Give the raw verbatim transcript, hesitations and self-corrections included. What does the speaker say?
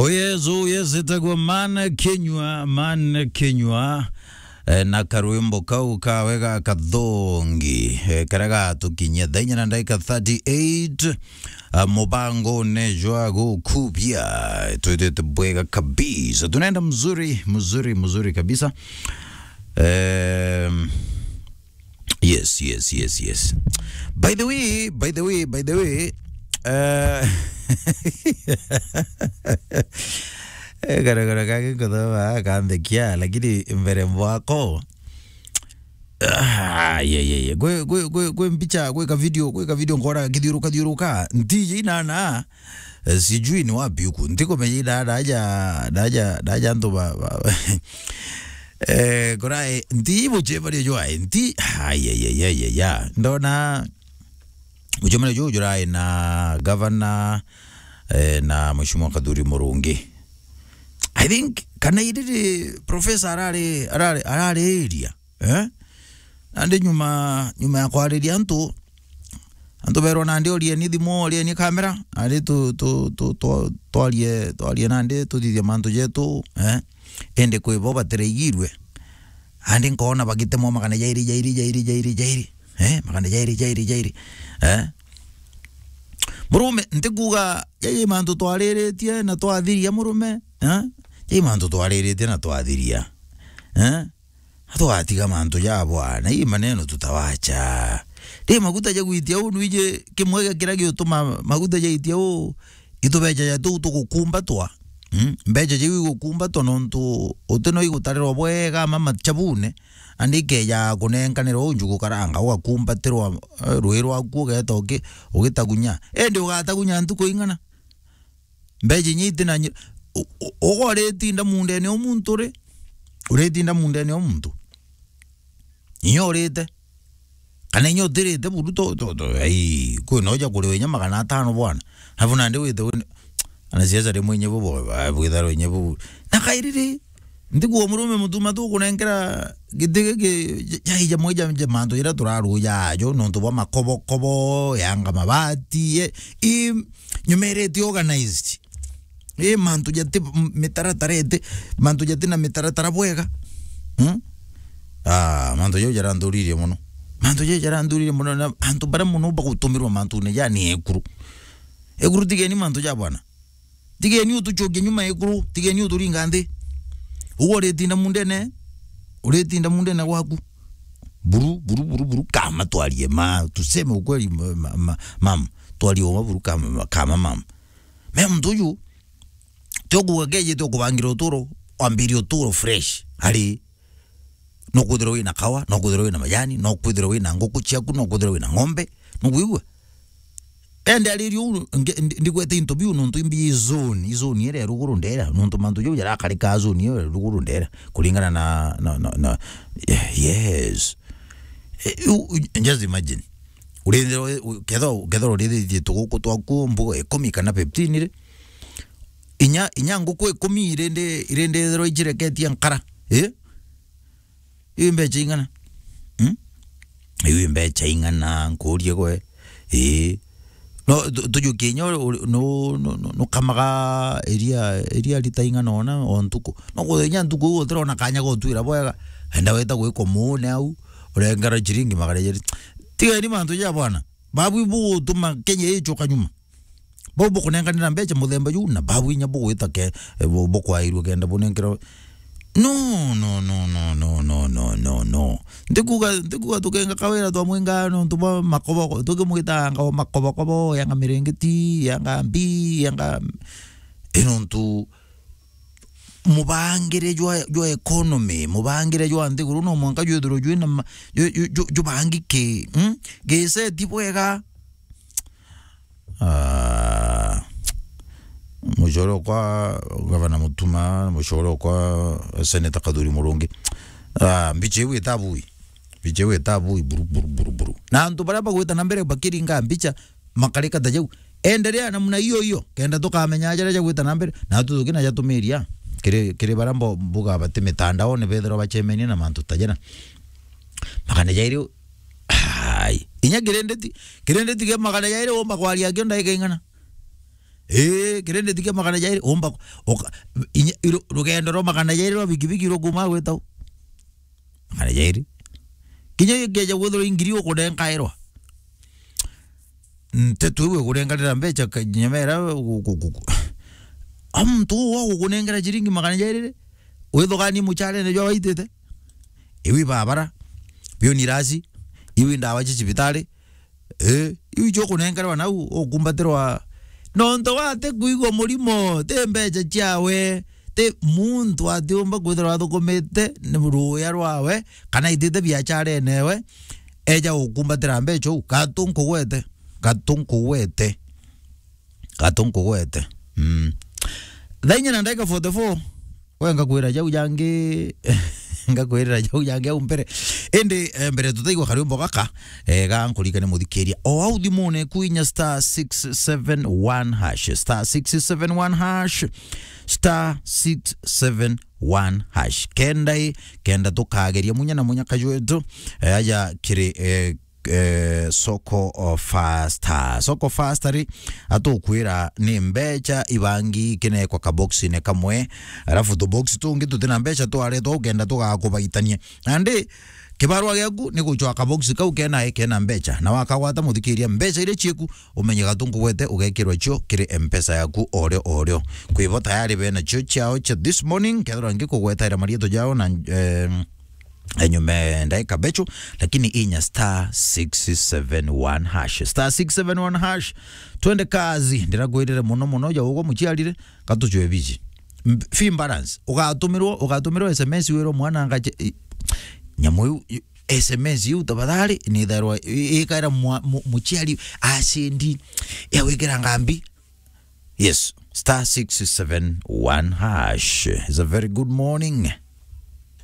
Oh yes, oh yes, itagwa Man Kinyua, Man Kinyua. Eh, na karwimbo kau kawe ga kathongi, eh, karia gatukinyia thaa inya na ndagika thirty-eight. Ah, mubangone jwa gukubia, twitite bwega kabisa. Tunaenda mzuri, mzuri, mzuri kabisa. Em, Yes, yes, yes, yes. By the way, by the way, by the way, uh, eh, garagara kake nkothoma kanthekia, lakini mbere mwako. Ah, yeah, yeah, yeah. Gwe, gwe, gwe, gwe mbicha, gwe ka video, gwe ka video nkora kithiuruka, thiuruka. Ntiji inana. Eh, sijui ni wapi huku. Ntikumenya ina daja, daja, daja antu ba, ba, eh, kurai, nti mucemanio jwa, nti, ai, ai, ai, ai, ai, ai. Ndona mucemanio juu jurai na gavana, eh, na Mheshimiwa Kathuri Murungi. I think, kana iriri professor arari, arari, arari area, eh? Nandi nyuma, nyuma ya kwariria antu, antu berwa nandi orieni thimu, orieni kamera, nandi tu, tu, tu, tu, twarie, twarie nandi tuthithie mantu jetu, eh? Indi kwi bo batiraigirue. Nandi nkoona bagitemwa magana jairi, jairi, jairi, jairi, jairi. Eh? Magana jairi, jairi, jairi. Eh? Murume, ntikuga jairi mantu twariritie na twathiria murume, eh? Jairi mantu twariritie na twathiria. Eh? Twatiga mantu ja bwana, hii maneno tutawacha. Ri maguta ja gwitia uu, nwiji kimwe gia kiria giutuma maguta jaitia uu, itubecha ja tuu tugukumbatwa. Mm? Mbecha jau igukumbatwa nontu uti no igutarirwa bwega ama machabune, andi ikeja kunenkanirwa uu njugu karanga, ugakumbatirwa, eh, rui rwaku ugeeta uki-, ugitagunya. Indi ugatagunya ntuku ing'ana? Mbecha inya itina nyi-, u-, u-, uga uritinda mundene o muntu ri? Uritinda mundene o muntu? Inya urite? Kana inya utirite buru to, to, to, ai, kwina uja kuriwa inya magana atano bwana. Alafu nandi wite wina, anasiasa rimwe inya bo, bo, ba, bwitharwa inya bo. Na kairi ri, Nthiguru murume mutuma tukunenkera giti giki, ja-, ja-, ja-, ja mantu jaria turaruja ajo, nontu bwa makobokobo, yanga mabati, ye, i, nyuma iria iti organized. I, mantu jati m-, mitaratara iti, mantu jati na mitaratara bwega. Hmm? Ah, mantu jau jaranthuririe mono. Mantu jau jaranthuririe mono, na antu baria mono bagutumirwa mantune ja ni ekuru. Ekuru, tigeni mantu ja bwana. Tigeni utuchokie nyuma ikuru, tigeni uturinga nthi. Ugu uritinda mundene, uritinda mundene gwaku. Buru, buru, buru, buru, kama twarie ma, tuseme ukweli, ma, ma, ma, mam, twarie uma buru kama, kama mam. Me muntu uyu, tio kuga keje tio kubangira uturo, wambirie uturo fresh. Ari, no kwithirwa wina kawa, no kwithirwa wina majani, no kwithirwa wina nguku ciaku, no kwithirwa wina ng'ombe, no kwigua? Ende aririe uu, nge-, ndi-, ndigwete into biu nontu imbi i zone, i zone iria ya ruguru ndera, nontu mantu jau jarakarika zone iyo ya ruguru ndera, kuringana na, na, na, na, yes. Eh, u-, u-, just imagine. Urithirwa, u-, kethirwa, kethirwa urithiritie tuguku twaku mbuga ikumi kana fifteen ri, inya, inya nguku ikumi irindi, irindi ithirwa ijireketie nkara, eh? Iu mbecha ing'ana? Hmm? Iu mbecha ing'ana, nkuurie gwe? Ii. No, tu-, tujukie inya uri, uri, nu-, nu-, nu-, nukamaga iria, iria rita ing'ana ona o ntuku? No kwithirwa inya ntuku iu utirona kanya ga utwira bwega, enda wita gwikwa muune au, urengera ciringi magana jeri. Tigeni mantu ja bwana. Babu ibugutuma Kenya icoka nyuma. Bau bukunenkanira mbecha muthemba juu, na bau inya bugwita ke, eh, bu-, bukwairua kenda bunenkerwa. No, no, no. Ntikuga, ntikuga tukenga kawira twamwinga nontu bwa makobo, tukimwitanga o makobokobo, yanga mirengeti, yanga mbi, yanga, eh, nontu mubangire jwa, jwa economy, mubangire jwa nthiguru no mwanka jwithirwe jwina ma-, ju-, ju-, ju-, jubangiki, mm? Giseti bwega. Ah, mucore okwa Gavana Mutuma, mucore okwa Senator Kathuri Murungi. Ah, mbicha iu itabui. Mbicha iu itabui buru, buru, buru, buru. Na antu baria bagwita na mbere bakiringa mbicha, makarika ta jau. Endelea namna hiyo hiyo, kenda tukamenya jaria jagwita na mbere, na tu tukina jatumiria. Kiri, kiri baria mbo-, mbuga bati mitandaone bethirwa bacemenie na mantu ta jara. Magana jairi, ai, inya kirendeti, kirendeti kia magana jairi umba kwaria kio ndaika ing'ana. Ii, kirindi tikia magana jairi, umba, uka-, inya, iru-, rugendo rwa magana jairi rwa bikibiki rukuma gwita u? Magana jairi. Kinya geja gwithirwa ingiri ukunenkairwa. Ntetu iu ikurenganira mbecha ka-, nyamera gu-, gu-, gu-, gu-, a muntu uu wa gukunengera ciringi magana jairi ri, withuganie mucharene jwa waitite? Iu ibabara, biu ni irasi, iu i ndawa cia cibitari, eh, iu icio ukunengerwa nau, ukumbatirwa. Nontu wa ati kwigua murimo, ti mbecha ciawe, ti muntu atiumba kwithirwa athukumite ni ruuya rwawe, kana aitite biacharene ewe, eja gukumbatira mbecha uu, gatu nkugwete, gatu nkugwete, gatu nkugwete. Mm. Thaa inya na ndagika forty-four, we ngakwira jau jangi, ngakwirira jau jangi au mbere. Indi, eh, mbere tutaigua kariumbo gaka, eh, ga nkurikane muthikiria. O au thimune ku inya star six seven one hash, star six seven one hash, star six seven one hash. Kenda i, kenda tukageria munya na munya kajwetu, eh, aja kiri, eh, eh, Soko Fasta. Soko Fasta ri, atukwira ni mbecha ibangi kinekwa kaboxine kamwe, alafu tubox tungi tutina mbecha twaretwa ukenda tugakubaitania. Nandi, kibarua giaku ni gucwa kabox kau kena, kena mbecha. Na wakagwata muthikiria mbecha iria cieku, umenye gatu nkugwete ugekirwa cio kiri M-Pesa yaku orio orio. Kwibo tayari bena cio ciao cia this morning, kethirwa ngikugwetaira marietwa jao na, em, enyume ndaika bechu, lakini inya star six seven one hash. Star six seven one hash. Twende kazi, ndirakwirire muno muno ja ugwa muciarire, gatucwe biji. M-, fee balance. Ugatumirwo, ugatumirwo S M S wirwo mwana ngache, i-, nyamu iu, i-, S M S iu tafadhali, ni therwa, i-, ikaira mwa-, mu-, muciari, acendi, ya gwikira ngambi. Yes, star six seven one hash. It's a very good morning.